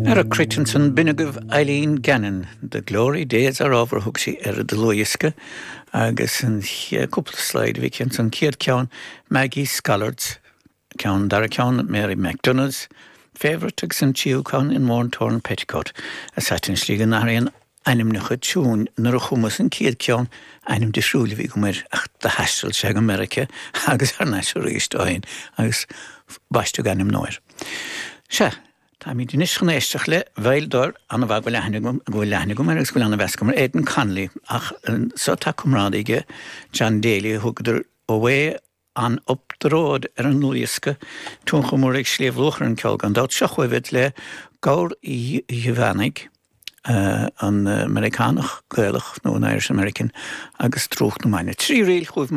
Ar a cruit ansan, b'in agaibh Eileen Gannon, The Glory Days ar ábhar a thug sí ar a dlúthdhiosca agus an cúpla slide a bhí aici ansan, chéad ceann Maggie Scollard's ceann, dara ceann Mary McDonagh's Favourite agus an tríú ceann In Worn Torn Petticoat, a thaitin slí go n-athraíonn ainmneacha tiúin. Nuair a chumas an chéad cheann, ainm difriúil a bhí agam air ach do thaistil sé go Meiriceá agus thar n-ais arís ó shin agus baisteadh ainm nua air. Sea, táimid anois chun éisteacht le veidhleadóir an-mhaith go bhfuil aithne agam, go bhfuil aithne agam air agus go bhfuil an-mheas agam air, Aidan Connolly, ach anso tá comrádaí aige, John Daly, a thugadar Away on Up the Road ar an ndlúthdhiosca, tionchar mór ag Sliabh Luachra ar an gceol gan dabht. Seo chugaibh iad le Gabhar Uí Dhuibheannaigh, an Meiriceánach Gaelach nó an Irish American agus Drúcht na Maidne. 3 ríl chugaibh.